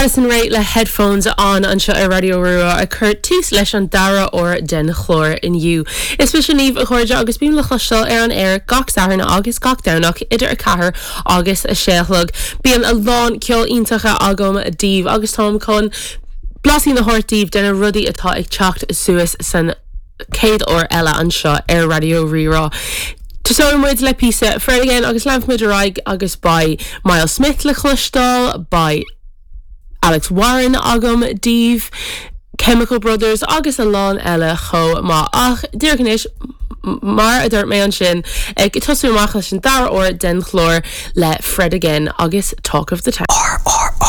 Addison Rae le Headphones On anseo ar Raidió Rí-Rá ag cur tús leis an dara uair den chlár inniu. Is mise Niamh a chairde agus bím le cloisteáil ar an aer gach Satharn agus gach Domhnach idir 4 agus 6 a chlog. Bíonn a lán ceol iontacha agam daoibh agus táim chun blaisín a thabhairt daoibh de na rudaí atá ag teacht suas san chéad uair eile anseo ar Raidió Rí-Rá. Tosóidh muid le píosa Fred Again agus leanfaidh muid ar aghaidh agus beidh Myles Smith le cloisteáil, beidh Alex Warren agam daoibh, Chemical Brothers agus a lán eile chomh maith. Ach díreach anois, mar a dúirt mé ansin, ag tosú amach leis an dara huair den chlár le Fred Again agus Talk of the Town. R R.